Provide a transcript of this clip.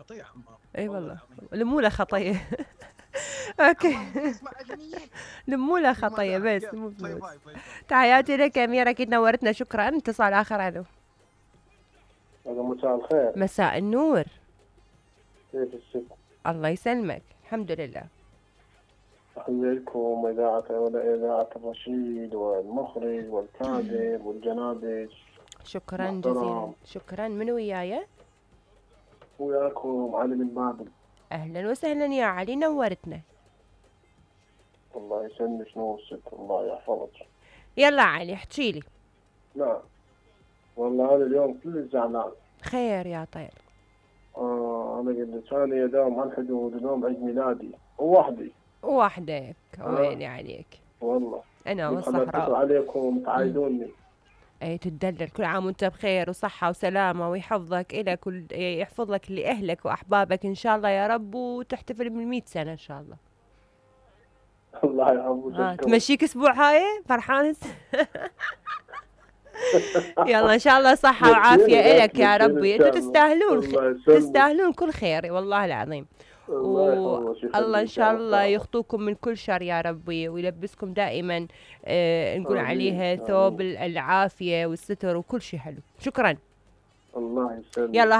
خطيه حمام. اي والله لموله خطيه. اوكي لموله خطيه بس مو فلوس. تحياتي لك يا امير، اكيد نورتنا، شكرا. اتصال اخر. الو. مساء الخير. مساء النور. كيف الست؟ الله يسلمك، الحمد لله. تحية لكم إذاعة الرشيد والمخرج والكاتب والجنابج. شكرا جزيلا. شكرا. من وياي؟ وياكم علي بن بابل. اهلا وسهلا يا علي، نورتنا. الله يسلمك. نور ست، الله يحفظك. يلا علي احكي لي. نعم والله أنا اليوم كل زعلان. خير يا طير. أنا قلت ثاني يوم عن حدود يوم عيد ميلادي ووحدي. وحدك ويني عليك والله انا والصحراء. عليكم تعايدوني. اي تدلل، كل عام وانت بخير وصحة وسلامة، ويحفظك إلك يحفظ لك لأهلك وأحبابك إن شاء الله يا رب، وتحتفل بال100 سنة إن شاء الله. الله يحفظك. تمشيك أسبوع هاي فرحان. يلا إن شاء الله صحة وعافية إلك يا ربي، انتوا تستاهلون تستاهلون كل خير والله العظيم. والله إن شاء الله يخطوكم من كل شر يا ربي، ويلبسكم دائما نقول عليها ثوب العافية والستر وكل شيء حلو. شكرا. الله يسلمك. يلا.